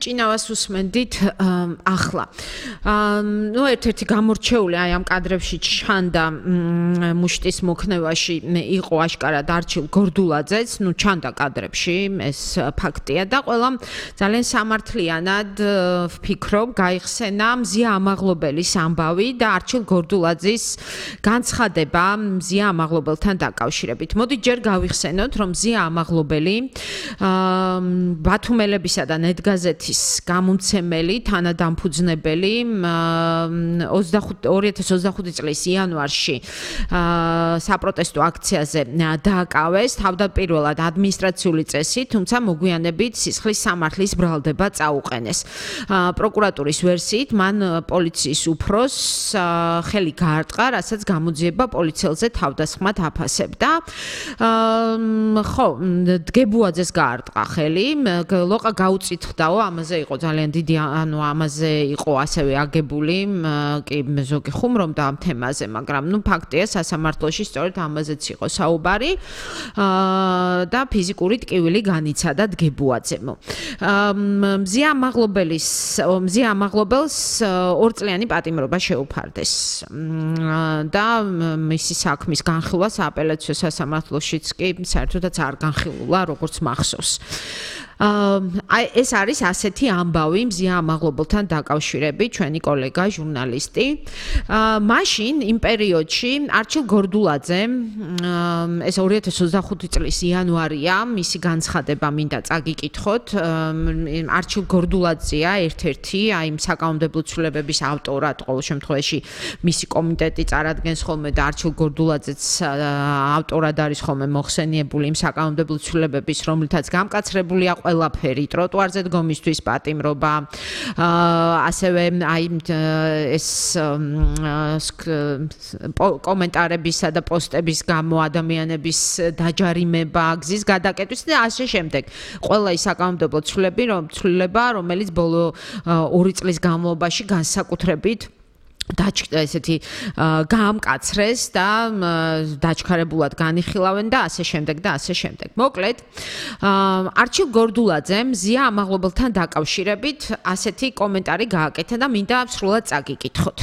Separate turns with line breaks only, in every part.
ჭინავას უსმენდით ახლა. ნუ ერთ-ერთი გამორჩეული აი ამ კადრებში ჩანდა მუშტის მოქნევაში იყო აშკარად არჩილ გორდულაძეც, ნუ ჩანდა კადრებში, ეს ფაქტია და ყველამ ძალიან სამართლიანად ვფიქრობ, გაიხსენა მზია ამაღლობელის ამბავი და არჩილ გორდულაძის განცხადება მზია ამაღლობელთან დაკავშირებით. მოდით ჯერ გავიხსენოთ, რომ მზია ამაღლობელი ბათუმელებისა და ნეტგაზეთის გამომცემელი, თანადამფუძნებელი 2025 წლის იანვარში საპროტესტო აქციაზე დააკავეს თავდაპირველად ადმინისტრაციული წესით, თუმცა მოგვიანებით სისხლის სამართლის ბრალდება წაუყენეს. პროკურატურის ვერსიით მან პოლიციის უფროსს ხელი გაარტყა, რასაც გამოძიება პოლიციელზე თავდასხმად აფასებდა. ხო, დგებუაძეს გაარტყა ხელი, ლოყა გაუწითხდაო, ამაზე იყო ძალიან დიდი, ანუ ამაზე იყო ასევე აგებული კი ზოგი ხუმრობდა ამ თემაზე, მაგრამ ნუ ფაქტია სასამართლოში სწორედ ამაზეც იყო საუბარი და ფიზიკური ტკივილი განიცადა დგებუაძემ. მზია ამაღლობელს 2 წლიანი პატიმრობა შეუფარდეს და მისი საქმის განხილვა სააპელაციო სასამართლოშიც კი საერთოდაც არ განხილულა, როგორც მახსოვს. ეს არის ასეთი ამბავი მზია ამაღლობელთან დაკავშირებით, ჩვენი კოლეგა ჟურნალისტი. მაშინ იმ პერიოდში არჩილ გორდულაძემ ეს 2025 წლის იანვარია, მისი განცხადება მინდა წაგიკითხოთ. არჩილ გორდულაძეა ერთ-ერთი აი იმ საკანონმდებლო ცვლილებების ავტორად, ყოველ შემთხვევაში მისი კომიტეტი წარადგენს ხოლმე და არჩილ გორდულაძეც ავტორად არის ხოლმე მოხსენიებული იმ საკანონმდებლო ცვლილებების, რომლითაც გამკაცრებულია ყველაფერი, ტროტუარზე დგომისთვის პატიმრობა, ასევე აი ეს კომენტარებისა და პოსტების გამო ადამიანების დაჯარიმება, გზის გადაკეტვის და ასე შემდეგ. ყველა ის საკანონმდებლო ცვლილება, რომელიც ბოლო 2 წლის განმავლობაში განსაკუთრებით ესეთი გაამკაცრეს და დაჩქარებულად განიხილავენ და ასე შემდეგ და ასე შემდეგ. მოკლედ, არჩილ გორდულაძემ მზია ამაღლობელთან დაკავშირებით ასეთი კომენტარი გააკეთა და მინდა სრულად წაგიკითხოთ.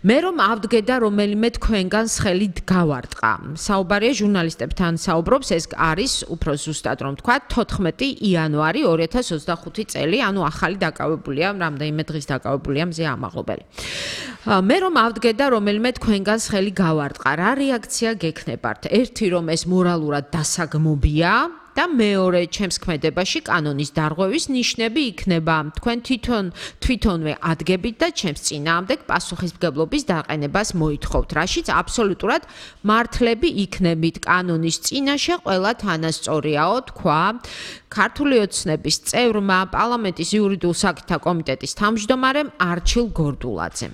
მე რომ ავდგე და რომელიმე თქვენგანს ხელი გავარტყა. საუბარია ჟურნალისტებთან საუბრობს, ეს არის უფრო ზუსტად რომ თქვა 14 იანვარი 2025 წელი, ანუ ახალი დაკავებულია, რამდენიმე დღის დაკავებულია მზია ამაღლობელი. მე რომ ავდგე და რომელიმე თქვენგანს ხელი გავარტყა, რა რეაქცია გექნებათ? ერთი რომ ეს მორალურად დასაგმობია და მეორე ჩემს ქმედებაში კანონის დარღვევის ნიშნები იქნება. თქვენ თვითონვე ადგებით და ჩემს წინააღმდეგ პასუხისმგებლობის დაყენებას მოითხოვთ, რაშიც აბსოლუტურად მართლები იქნებით. კანონის წინაშე ყველა თანასწორიაო, თქვა ქართული ოცნების წევრმა, პარლამენტის იურიდიულ საკითხთა კომიტეტის თავმჯდომარემ არჩილ გორდულაძემ.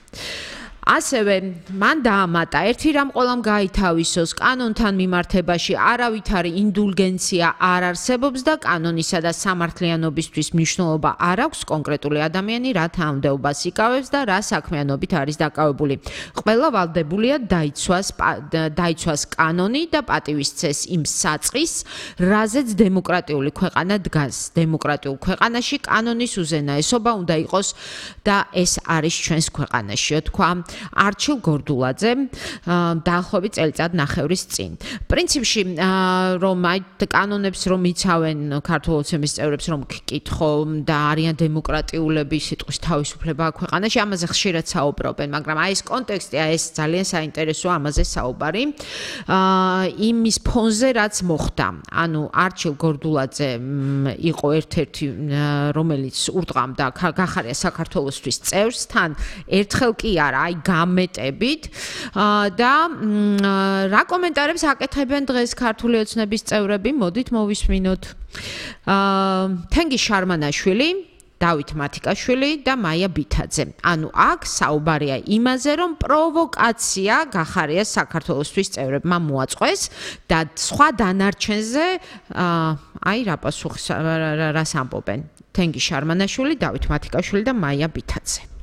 ასევე მან დაამატა, ერთი რამ ყველამ გაითავისოს, კანონთან მიმართებაში არავითარი ინდულგენცია არ არსებობს და კანონისა და სამართლიანობისთვის მნიშვნელობა არ აქვს კონკრეტული ადამიანი რა თანამდებობას იკავებს და რა საქმიანობით არის დაკავებული. ყველა ვალდებულია დაიცვას კანონი და პატივისცეს იმ საწყის, რაზეც დემოკრატიული ქვეყანა დგას. დემოკრატიულ ქვეყანაში კანონის უზენაესობა უნდა იყოს და ეს არის ჩვენს ქვეყანაშიო, თქვა არჩილ გორდულაძე დაახლოებით წელიწად ნახევრის წინ. პრინციპში რომ აი კანონებს რომ იცავენ ქართულ ოცნების წევრებს რომ გკითხო და არიან დემოკრატიულები, სიტყვის თავისუფლება ქვეყანაში, ამაზე ხშირად საუბრობენ, მაგრამ აი ეს კონტექსტი, აი ეს ძალიან საინტერესოა, ამაზე საუბარი. იმის ფონზე რაც მოხდა. ანუ არჩილ გორდულაძე იყო ერთ-ერთი რომელიც ურტყამდა გახარია საქართველოსთვის წევრს, თან ერთხელ კი არა, აი გამეტებით და რა კომენტარებს აკეთებენ დღეს ქართული ოცნების წევრები, მოდით მოვისმინოთ. თენგი შარმანაშვილი, დავით მათიკაშვილი და მაია ბითაძე. ანუ აქ საუბარია იმაზე, რომ პროვოკაცია გახარია საქართველოსთვის წევრებმა მოაწყვეს და სხვა დანარჩენზე აი რა პასუხს რას ამბობენ. თენგი შარმანაშვილი, დავით მათიკაშვილი და მაია ბითაძე.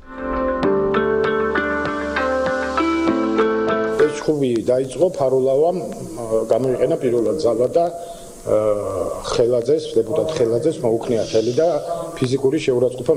ხუბი დაიწყო ფარულავამ გამოიყენა პირველად ძალა და ხელაძეს, დეპუტატ ხელაძეს მოუქნია ხელი და ფიზიკური შეურაცხყოფა